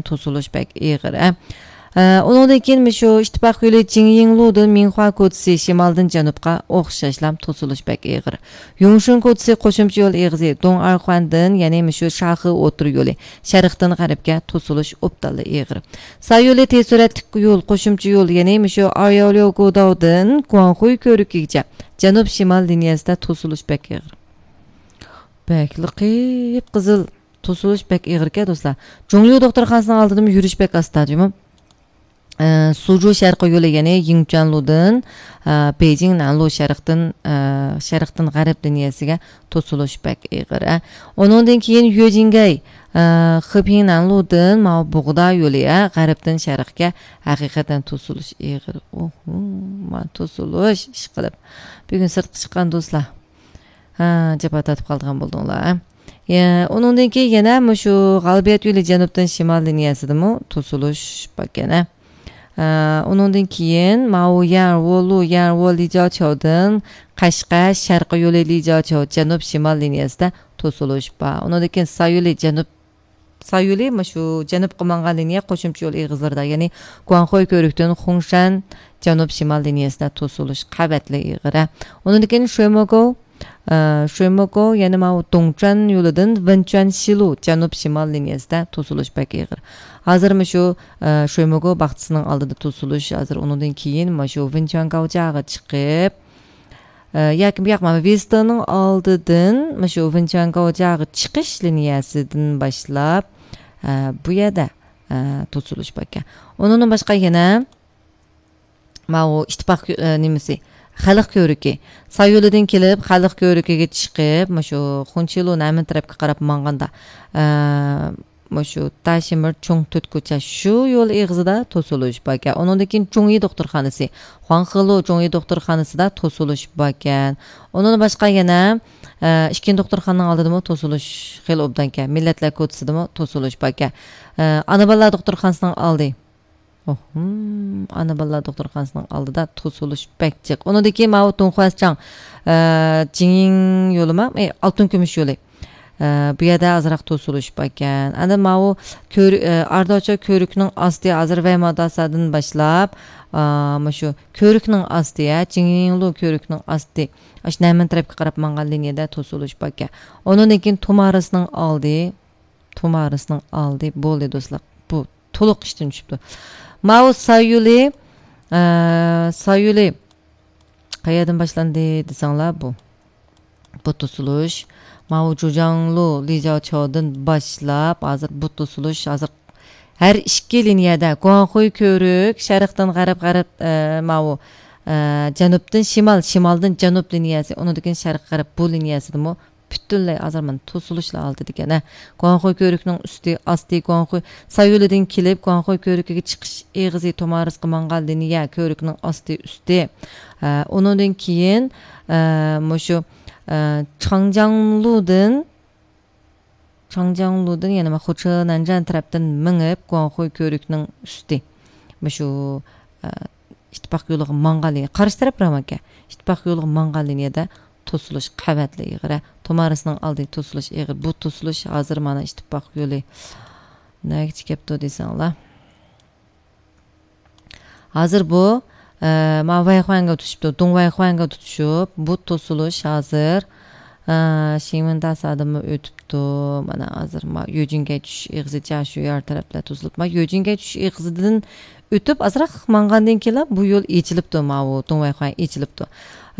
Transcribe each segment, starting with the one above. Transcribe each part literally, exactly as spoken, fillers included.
توسۇلۇش بەك ئېغىر، ھە. ئە، ئۇنىڭدىن كېيىن مۇشۇ ئىتتىپاق يولى جىڭيىڭلۇدىن مىڭخۇا كوچىسى شىمالدىن جەنۇبقا ئوخشاشلا توسۇلۇش بەك ئېغىر. يۇڭشۇن كوچىسى قوشۇمچە يول ئېغىزى دوڭئارخۇەندىن، يەنى مۇشۇ شاخې ئوتتۇرا يولى شەرقتىن غەربكە توسۇلۇش ئوبدانلا ئېغىر. سا يولى تېز سۈرئەتلىك يول، قوشۇمچە يول، يەنى مۇشۇ ئاياۋليو گوداۋدىن گۇاڭخۇي كۆۋرۈكىگىچە جەنۇب شىمال لىنىيەسىدە توسۇلۇش بەك ئېغىر. بەكلا قىپقىزىل. توسۇلۇش بەك ئېغىركەن، دوستلار. جۇڭليۇ دوختۇرخانىسىنىڭ ئالدىدىمۇ يۈرۈش بەك ئاستا، جۇمۇ. ئە، سۇجۇ شەرقىي يولى، يەنى يىڭچۈەنلۇدىن، ئە، بېيجىڭ نەنلۇ شەرقتىن، ئە، شەرقتىن غەرب لىنىيەسىگە توسۇلۇش بەك ئېغىر، ئە. ئۇنىڭدىن كېيىن يۆجىنگەي، ئە، خېپىڭ نەنلۇدىن ماۋۇ بۇغدا يولى، ئە، غەربتىن شەرقكە ھەقىقەتەن توسۇلۇش ئېغىر. ئوھو، ما توسۇلۇش ئىشقىلىپ. بۈگۈن سىرتقا چىققان دوستلار. ھە، جاپا تارتىپ قالىدىغان بولدۇڭلار. يە، ئۇنىڭدىن كېيىن يەنە مۇشۇ غالىبىيەت يولى جەنۇبتىن شىمال لىنىيەسىدىمۇ توسۇلۇش باركەن، ھە. ئە، ئۇنىڭدىن كېيىن ماۋۇ يەنۋولۇ، يەنۋو لىجاۋچاۋدىن قەشقەر شەرقىي يولى لىجاۋچاۋ جەنۇب شىمال لىنىيەسىدە توسۇلۇش بار. ئۇنىڭدىن كېيىن سا يولى جەنۇب سا يولى مۇشۇ جەنۇبقا ماڭغان لىنىيە قوشۇمچە يول ئېغىزلىرىدا، يەنى گۇاڭخۇي كۆۋرۈكتىن خۇڭشەن جەنۇب شىمال لىنىيەسىدە توسۇلۇش قەۋەتلىك ئېغىر. ئۇنىڭدىن كېيىن شۆموگو، ئە، شۆموگو، يەنى ماۋۇ دۇڭچۈەن يولىدىن ۋېنچۈەن شىلۇ جەنۇب شىمال لىنىيەسىدە توسۇلۇش بەك ئېغىر. ھازىر مۇشۇ، ئە، شۆموگو باغچىسىنىڭ ئالدىدا توسۇلۇش، ھازىر ئۇنىڭدىن كېيىن مۇشۇ ۋېنچۈەن گاۋجياغا چىقىپ، ئە، ياكى بۇ ياق، مانا، ۋېستېننىڭ ئالدىدىن مۇشۇ ۋېنچۈەن گاۋجياغا چىقىش لىنىيەسىدىن باشلاپ، ئە، بۇ يەردە، ئە، توسۇلۇش باركەن. ئۇنىڭدىن باشقا يەنە ماۋۇ ئىتتىپاق يو-، ئە، نېمىسى، خەلق كۆۋرۈكى. سا يولىدىن كېلىپ، خەلق كۆۋرۈكىگە چىقىپ، مۇشۇ خۇنچىلۇ نەمىن تەرەپكە قاراپ ماڭغاندا، ئە، مۇشۇ داشىمىر چوڭ تۆت كوچا شۇ يول ئېغىزىدا توسۇلۇش باركەن. ئۇنىڭدىن كېيىن جۇڭيى دوختۇرخانىسى، خۇاڭخېلۇ جۇڭيى دوختۇرخانىسىدا توسۇلۇش باركەن. ئۇنىڭدىن باشقا يەنە، ئە، ئىككىنچى دوختۇرخانىنىڭ ئالدىدىمۇ توسۇلۇش خېلى ئوبدانكەن. مىللەتلەر كوچىسىدىمۇ توسۇلۇش باركەن. ئە، ئانا بالىلار دوختۇرخانىسىنىڭ ئالدى. ئوھ، ھىم، ئانا بالىلار دوختۇرخانىسىنىڭ ئالدىدا توسۇلۇش بەك جىق. ئۇنىڭدىن كېيىن ماۋۇ دۇڭخۇەسچاڭ، ئە، جىڭيىڭ يولىما، ئى، ئالتۇن كۈمۈش يولى. ئە، بۇ يەردە ئازراق توسۇلۇش باركەن. ئاندىن ماۋۇ كۆر-، ئە، ئارداچا كۆۋرۈكنىڭ ئاستى، ھازىر ۋەيماداسادىن باشلاپ، ئا، مۇشۇ كۆۋرۈكنىڭ ئاستى، ھە، جىڭيىڭلۇ كۆۋرۈكنىڭ ئاستى. ئاشۇ نەمىن تەرەپكە قاراپ ماڭغان لىنىيەدە توسۇلۇش باركەن. ئۇنىڭدىن كېيىن تومارىسنىڭ ئالدى، تومارىسنىڭ ئالدى بولدى، دوستلار. بۇ تولۇق ئىشتىن چۈشۈپتۇ. ماۋۇ سايۇلى، ئە، سايۇلى قەيەردىن باشلاندى دېسەڭلار، بۇ. بۇ توسۇلۇش. ماۋۇ جۇجاڭلۇ، لىجاۋچاۋدىن باشلاپ، ھازىر بۇ توسۇلۇش، ھازىر ھەر ئىككى لىنىيەدە، گۇاڭخۇي كۆۋرۈك، شەرقتىن غەرب، غەرب، ئە، ماۋۇ، ئە، جەنۇبتىن شىمال، شىمالدىن جەنۇب لىنىيەسى، ئۇنىڭدىن كېيىن شەرق، غەرب بۇ لىنىيەسىدىمۇ پۈتۈنلەي ھازىر مانا توسۇلۇشلا ئالدىدىكەن، ھە. گۇاڭخۇي كۆۋرۈكنىڭ ئۈستى، ئاستى، گۇاڭخۇي سايۇلىدىن كېلىپ، گۇاڭخۇي كۆۋرۈكىگە چىقىش ئېغىزى تومارىسقا ماڭغان لىنىيە، كۆۋرۈكنىڭ ئاستى، ئۈستى. ئە، ئۇنىڭدىن كېيىن، ئە، مۇشۇ، ئە، چاڭجياڭلۇدىن، چاڭجياڭلۇدىن يەنە ما خۇچې نەنجيەن تەرەپتىن مېڭىپ، گۇاڭخۇي كۆۋرۈكنىڭ ئۈستى. مۇشۇ، ئە، ئىتتىپاق يولىغا ماڭغان لىنىيە، قارشى تەرەپ رامانكەن. ئىتتىپاق يولىغا ماڭغان لىنىيەدە توسۇلۇش قەۋەتلىك ئېغىر. تومارىسنىڭ ئالدى توسۇلۇش ئېغىر. بۇ توسۇلۇش ھازىر مانا ئىتتىپاق يولى نەگىچە كەپتۇ دېسەڭلار. ھازىر بۇ، ئە، ما ۋەيخۇەنگە تۇتۇشۇپتۇ، دۇڭ ۋەيخۇەنگە تۇتۇشۇپ، بۇ توسۇلۇش ھازىر، ئە، شىڭمىنداسادىنمۇ ئۆتۈپتۇ. مانا ھازىر ما يۆجىنگەي چۈشۈش ئېغىزى جاشۇيار تەرەپلەر توسۇلۇپ، ما يۆجىنگەي چۈشۈش ئېغىزىدىن ئۆتۈپ، ئازراق ماڭغاندىن كېيىنلا بۇ يول ئېچىلىپتۇ، ماۋۇ دۇڭ ۋەيخۇەن ئېچىلىپتۇ.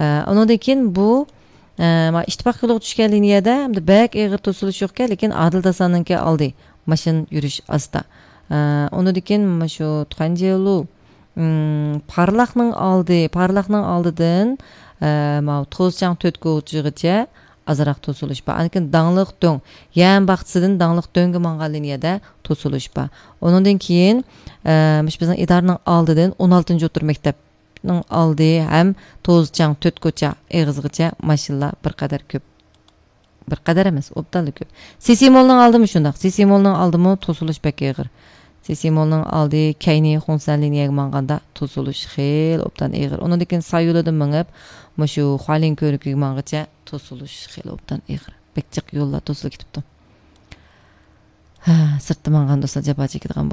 ئە، ئۇنىڭدىن كېيىن بۇ، ئە، ما ئىتتىپاق يولىغا چۈشكەن لىنىيەدە ئەمدى بەك ئېغىر توسۇلۇش يوقكەن، لېكىن ئادىل داساننىڭكى ئالدى، ماشىنا يۈرۈش ئاستا. ئە، ئۇنىڭدىن كېيىن مۇشۇ تۇەنجيېلۇ، ئىم، پارلاقنىڭ ئالدى، پارلاقنىڭ ئالدىدىن، ئە، ماۋۇ توزچاڭ تۆت كوچىغىچە ئازراق توسۇلۇش بار. ئاندىن كېيىن داڭلىق دۆڭ، يەم باغچىسىدىن داڭلىق دۆڭگە ماڭغان لىنىيەدە توسۇلۇش بار. ئۇنىڭدىن كېيىن، ئە، مۇشۇ بىزنىڭ ئىدارىنىڭ ئالدىدىن ئون ئالتىنچى ئوتتۇرا مەكتەپنىڭ ئالدى ھەم توزچاڭ تۆت كوچا ئېغىزىغىچە ماشىنىلار بىر قەدەر كۆپ. بىر قەدەر ئەمەس، ئوبدانلا كۆپ. سىسىمولنىڭ ئالدىمۇ شۇنداق. سىسىمولنىڭ ئالدىمۇ توسۇلۇش بەك ئېغىر. سىسىمولنىڭ ئالدى كەينى خۇڭسەن لىنىيەگە ماڭغاندا توسۇلۇش خېلى ئوبدان ئېغىر. ئۇنىڭدىن كېيىن سايۇلىدىن مېڭىپ، مۇشۇ خۇالىن كۆۋرۈكىگە ماڭغىچە توسۇلۇش خېلى ئوبدان ئېغىر. بەك جىق يوللار توسۇلۇپ كېتىپتۇ. ھە، سىرتتا ماڭغان دوستلار جاپا چېكىدىغان